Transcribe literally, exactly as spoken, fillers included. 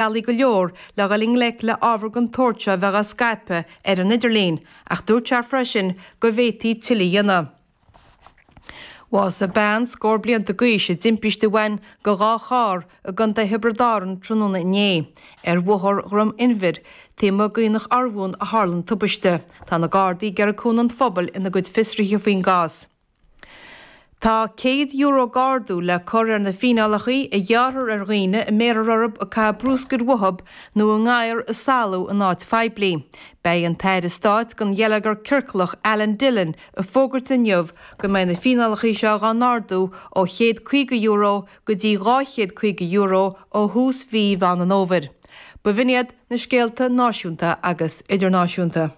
bealaí go leor le dhul i ngleic le ábhar den tsórt seo a bheith á scaipeadh ar an idirlíon, ach dúirt sé freisin go bhféadfaí tuilleadh a dhéanamh. Bhásaigh bean scór blianta d'aois i dtimpiste a bhain de dhá charr i gContae Thiobraid Árann tráthnóna inné. Ar Bhóthar Dhroim Inbhir, taobh amuigh d'Aonach Urmhumhan a tharla an tubaiste. Tá na Gardaí ag iarraidh cúnamh an phobail ina gcuid fiosruithe faoin gcás. Tá céad euro d'ardú le cur ar na fíneálacha a ghearrthar ar dhaoine a mbéarfar orthu ag caitheamh bruscair uathu nó a ngadhar a salú in áit phoiblí. Beidh an tAire Stáit don Gheilleagar Ciorclach Alan Dillon ag fógairt inniu go mbeidh na fíneálacha seo dhá n-ardú ó chéad caoga euro go dtí dhá chéad caoga euro ó thús mhí Mheán an Fhómhair. B'in iad na scéalta náisiúnta agus idirnáisiúnta.